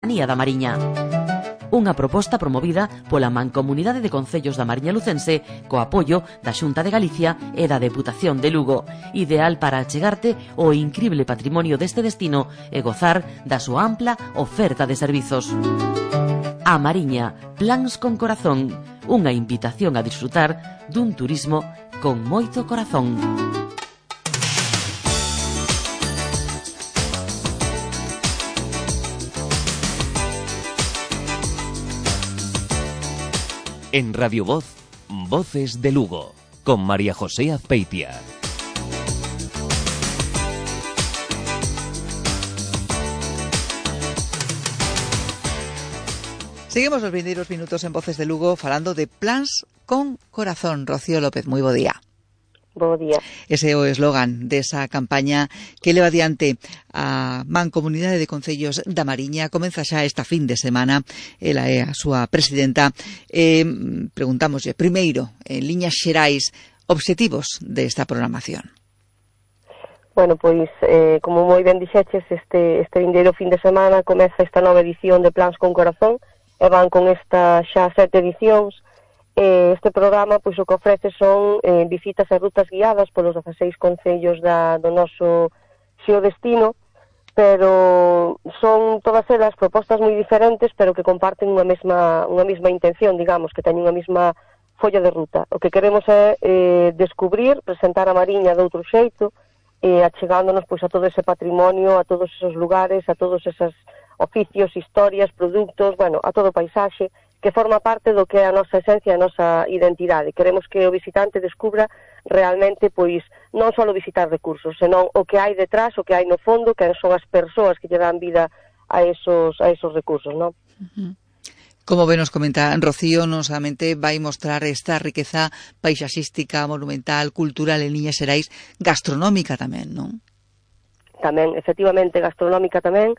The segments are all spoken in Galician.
Soberanía da Mariña. Unha proposta promovida pola Mancomunidade de Concellos da Mariña Lucense co apoio da Xunta de Galicia e da Deputación de Lugo, ideal para achegarte o incrible patrimonio deste destino e gozar da súa ampla oferta de servizos. A Mariña, plans con corazón, unha invitación a disfrutar dun turismo con moito corazón. En Radio Voz, Voces de Lugo, con María José Azpeitia. Seguimos os vindeiros minutos en Voces de Lugo falando de plans con corazón. Rocío López, moi bo día. Bo día. Ese é o eslogan desa campaña que leva adiante a Mancomunidade de Concellos da Mariña. Comeza xa esta fin de semana, ela é a súa presidenta. Preguntámoslle, primeiro, en liñas xerais, obxectivos desta programación. Bueno, pois, como moi ben dixeches, este vindeiro fin de semana comeza esta nova edición de Plans con Corazón, e van con esta xa 7 edicións. Este programa, pois, o que ofrece son visitas e rutas guiadas polos 16 concellos do noso xeodestino, pero son todas elas propostas moi diferentes, pero que comparten unha mesma intención, digamos, que teñen unha mesma folla de ruta. O que queremos é descubrir, presentar a Mariña de outro xeito, achegándonos pois a todo ese patrimonio, a todos esos lugares, a todos esos oficios, historias, produtos, bueno, a todo o paisaxe, que forma parte do que é a nosa esencia, a nosa identidade. Queremos que o visitante descubra realmente, pois, non só visitar recursos, senón o que hai detrás, o que hai no fondo, que son as persoas que lle dan vida a esos recursos, non? Como ben nos comenta Rocío, non solamente vai mostrar esta riqueza paisaxística, monumental, cultural en liñas xerais, gastronómica tamén, non? Tamén, efectivamente, gastronómica tamén.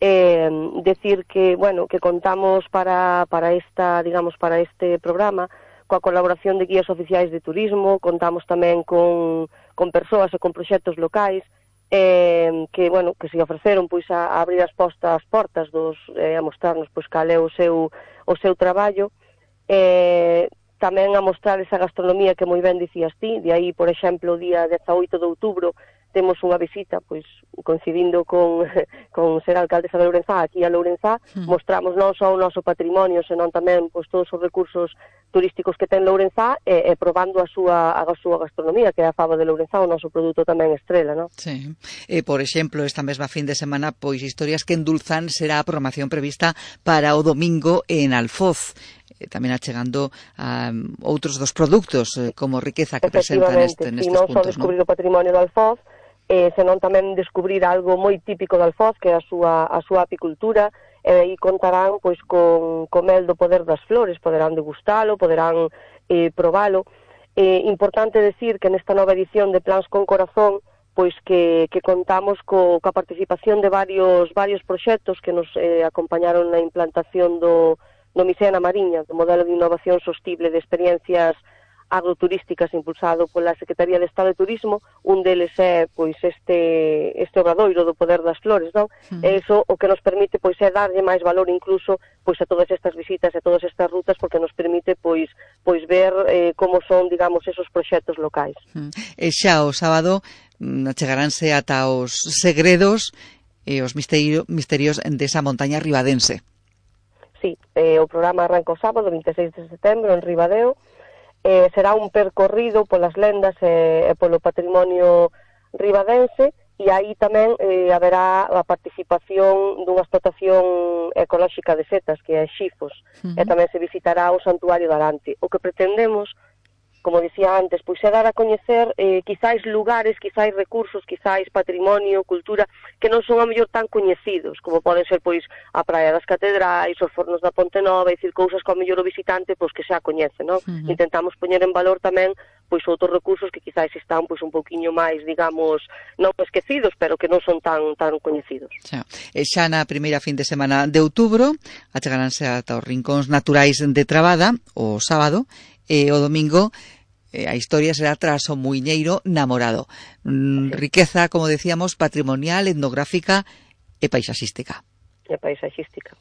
Decir que, bueno, que contamos para este programa coa colaboración de guías oficiais de turismo, contamos tamén con persoas e con proxectos locais que, bueno, que se ofreceron pois a abrir as portas a mostrarnos pois cal é o seu traballo, tamén a mostrar esa gastronomía que moi ben dicías ti. De aí, por exemplo, o día 18 de outubro temos unha visita, pois, coincidindo con ser alcaldesa de Lourenzá, aquí a Lourenzá, mostramos non só o noso patrimonio, senón tamén pois todos os recursos turísticos que ten Lourenzá e probando a súa gastronomía, que é a fava de Lourenzá, o noso produto tamén estrela, non? Sí. Por exemplo, esta mesma fin de semana, pois, historias que endulzan será a programación prevista para o domingo en Alfoz, tamén achegando a outros dos produtos como riqueza que presentan nestes puntos, non só descubrir o patrimonio de Alfoz, senón tamén descubrir algo moi típico de Alfoz, que é a súa apicultura, e aí contarán pois con mel do poder das flores, poderán degustalo, poderán probalo. Importante decir que nesta nova edición de Plans con Corazón, pois que contamos coa participación de varios proxectos que nos acompañaron na implantación do MISEA na Mariña, do modelo de innovación sostible de experiencias agroturísticas impulsado pola Secretaría de Estado de Turismo. Un deles é pois este obradoiro do poder das flores, non? E iso o que nos permite pois é darlle máis valor incluso pois a todas estas visitas e todas estas rutas, porque nos permite pois ver como son, digamos, esos proxectos locais. E xa o sábado achegaránse ata os segredos e os misterios desa montaña ribadense. Sí, o programa arranca o sábado, 26 de setembro, en Ribadeo. Será un percorrido polas lendas e polo patrimonio ribadense, e aí tamén haberá a participación dunha explotación ecolóxica de setas, que é Xifos, e tamén se visitará o Santuario de Arante. O que pretendemos, como dicía antes, pois é dar a coñecer quizáis lugares, quizáis recursos, quizáis patrimonio, cultura, que non son a mellor tan coñecidos, como poden ser pois a Praia das Catedrais, os Fornos da Ponte Nova, e dicir cousas que ao mellor o visitante pois que xa coñece, non? Intentamos poñer en valor tamén pois outros recursos que quizáis están pois un pouquiño máis, digamos, non esquecidos, pero que non son tan coñecidos. Xa na primeira fin de semana de outubro achegaránse ata os rincóns naturais de Trabada o sábado, e o domingo a historia será tras o Muiñeiro Namorado. Riqueza, como decíamos, patrimonial, etnográfica e paisaxística. e paisaxística.